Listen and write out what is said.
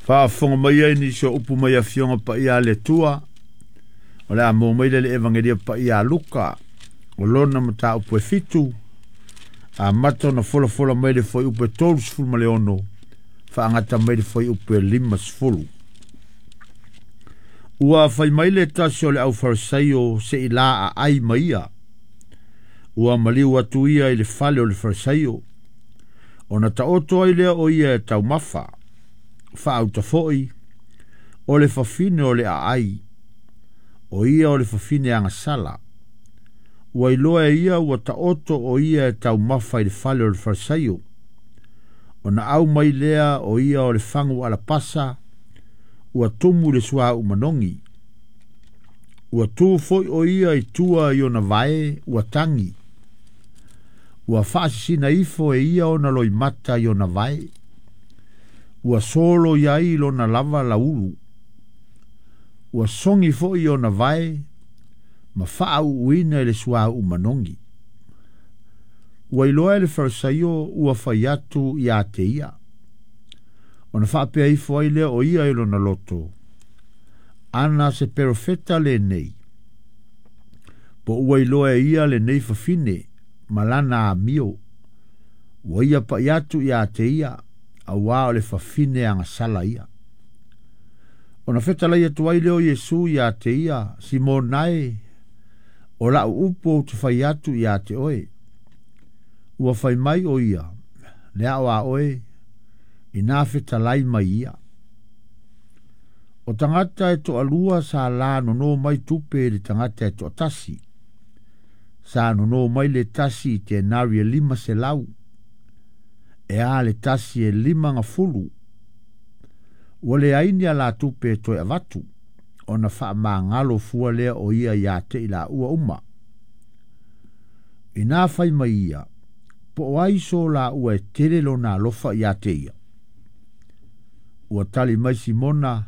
Faafofoga mai ai nisi o upu mai Afioga Paia a le Atua, o le a maua mai lea i le Evagelia Paia a Luka, o lona mataupu e 7, amata ona folafola mai le fuaiupu e 36, faagata mai le fuaiupu e 50. Ua fai mai le tasi o le aufarisaio se i la aai ma ia. Ua maliu atu ia i le fale o le farisaio, ona taoto ai lea o ia e taumafa. Faauta foi, o le fafine o le aai, o ia o le fafine agasala. Ua iloa e ia ua taoto o ia e taumafa i le fale o le farisaio. Ona au mai lea o ia o le fagu alapasa, ua tumu le suauu manogi. Ua tu foi o ia i tua i ona vae ua tagi. Ua faasisina ifo e ia ona loimata i ona vae. Ua solo i ai lona lava laulu. Ua sogi foi i ona vae ma faauuina i le suauu manogi. Ua iloa e le farisaio ua fai atu ia te ia. Ona faapea ifo ai lea o ia i lona loto, ana se perofeta lenei, po ua iloa e ia lenei fafine ma lana amio, ua ia pai atu ia te ia, auā o le fafine agasala ia. Ona fetalai atu ai lea o Iesu ia te ia, Simona e, o lau upu ou te fai atu ia te oe. Ua fai mai o ia, le ao a oe, ina fetalai mai ia. O tagata e toalua sa la nono mai tupe i le tagata e toatasi. Sa nono mai le tasi i tenari e 500, e a le tasi e 50. Ua leai ni a la tupe e toe avatu, ona faamagalo fua lea o ia ia te i laua uma. Ina fai mai ia, po o ai so laua e tele lona alofa ia te ia. Ua tali mai Simona,